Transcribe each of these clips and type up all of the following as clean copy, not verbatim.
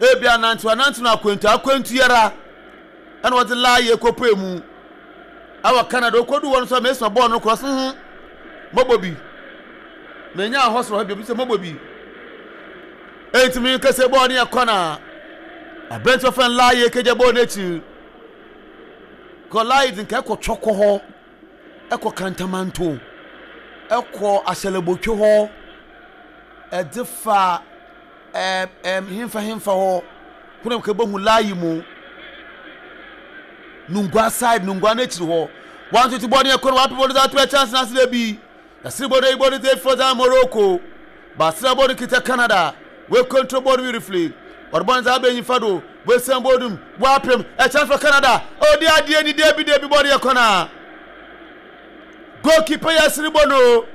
Ebi anantew anantew no akwantu akwantu yara ɛna wɔdze laaye kɔpue mu ɛwɔ Canada. Okodu hɔ no so mesoma bɔɔl no korɔ so ho mɔbɔ bi. Menya hɔ soro hɔ bi sɛ mɔbɔ bi. Enti mi kɛsɛ bɔɔl no yɛ kɔna. Aberante ɔfɛn laaye kegya bɔɔl n'ekyir. Kɔ laaye dze nka ɛkɔ twɔkɔ hɔ, ɛkɔ kantamanto, ɛkɔ ahyɛlɛbotwe hɔ, ɛdze fa ɛɛm ɛɛm hemfa hemfa hɔ kuna kɛbɛhu laayi mu nungua side nungua n'ekyir hɔ wantoto bɔɔl no yɛ kɔna wape bɔɔl no dze ato ɛkyɛnse n'ase dɛ bi. Yɛsere bɔ dɛ bɔ no dze efura dza Morocco. Baasera bɔ no kitsa Canada. Woe control bɔ no beautifully. Ɔde bɔ no dze aba enyimfa do. Woesian bɔ no mu. Wɔapem. A chance for Canada. Odi adeɛ ni debi debi bɔ no yɛ kɔna. Goalkeeper yɛsere bɔ no.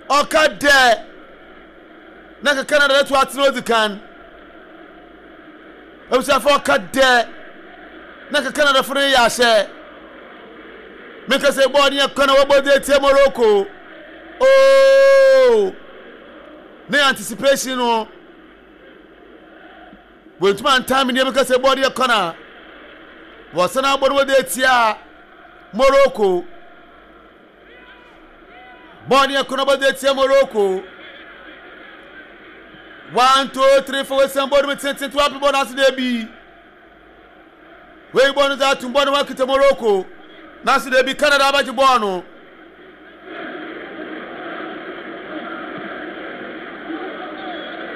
Ɔka dɛ. Na ka Canada dɛ to atena odzi kan. Abusuafo ɔka dɛ na nka Canadafo no reyɛ ahyɛ. Meka sɛ bɔɔl no yɛ kwan a wɔbɔ dze etsia Morocco. Oh! Ne anticipation no. Wɔntumi antan me nneɛma meka sɛ bɔɔl no yɛ kwan a wɔsan abɔ no wɔdze etsia Morocco. Bɔɔl no yɛ kwan a wɔbɔ dze etsia Morocco. One, two, three, four. Wɔsian bɔɔl no mu tententen ape bɔɔl no ase dɛ bi. Wei bɔɔl no dze atum bɔɔl no ho akita Morocco. Nanso dɛ bi Canada abɛgye bɔɔl no.